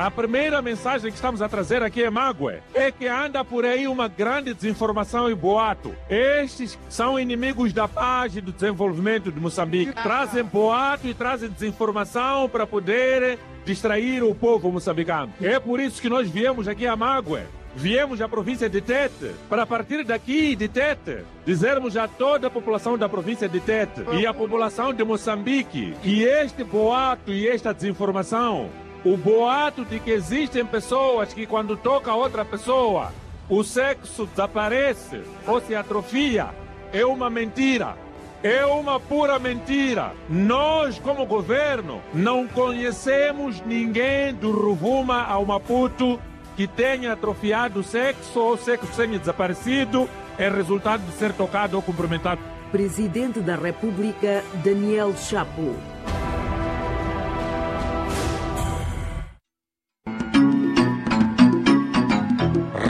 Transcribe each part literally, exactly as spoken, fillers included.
A primeira mensagem que estamos a trazer aqui em Magwe é que anda por aí uma grande desinformação e boato. Estes são inimigos da paz e do desenvolvimento de Moçambique. Trazem boato e trazem desinformação para poder distrair o povo moçambicano. É por isso que nós viemos aqui a Magwe, viemos à província de Tete, para partir daqui de Tete dizermos a toda a população da província de Tete e a população de Moçambique que este boato e esta desinformação, o boato de que existem pessoas que quando toca outra pessoa, o sexo desaparece ou se atrofia, é uma mentira. É uma pura mentira. Nós, como governo, não conhecemos ninguém do Ruvuma ao Maputo que tenha atrofiado o sexo ou sexo tenha desaparecido em resultado de ser tocado ou cumprimentado. Presidente da República, Daniel Chapo.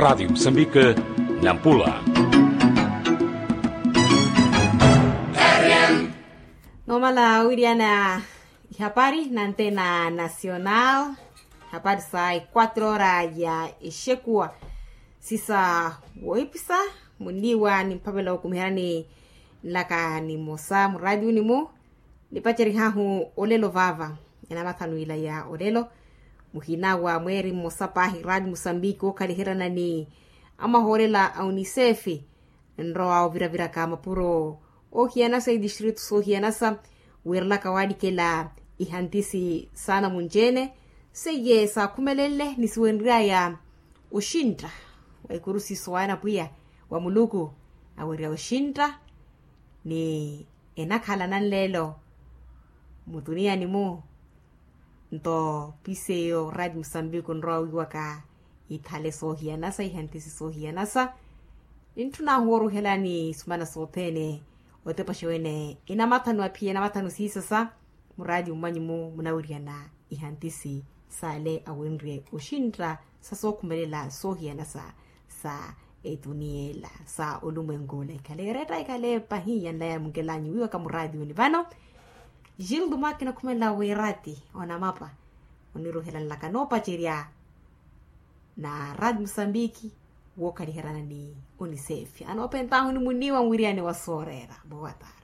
Rádio Moçambique, Nampula. Nomala wiriana ihapari na antena nacional. Hapari sa e quatro hora ya exekuwa sisa woipisa. Muniwa ni mpavela wokumiherani nlaka ni mosa mu radio ni mu nipacerihahu olelo vava. Enamathanu ila ya olelo muhina wa mweeri mmosa paahi radio musambiki okhaliherana ni amahoolela a unisefi nrowa oviraviraka mapuro ohiyanasa itistritu sohiyanasa. Wiirelaka waalikela ihantisi saana munci-ene seiye saakhumelenle ni siwenry'aya oxintta wa ikurusi sowaana pwiya wa muluku awerya oxintta ni enakhala nanleelo mutuniyani-mu. Nto piseiyo radio musambiki onrowa wiiwaka ithale soohiyanasa ihantisi soohiyanasa nintthun'ahu wooruhelani sumana sothene otepaxa wene enamathanu aphiya enamathanu siisasa. Muraati mmanyu-mu munawiryana ihantisi saale awenrye oxintta sa sookhumelela soohiyana sa sa etuniya ela sa olumwenku ola ikhale eretta ikhale pahi yanlaya munkelanyu wiiwaka muraatiyuni vano. Gildo makina okhumelela wiraati onamapa oniruhela nlaka noopacerya na raati musambiki wookhaliherana ni unisefi anoopentahu ni muniwa mwiriyani wa sooreera. Boa tarde.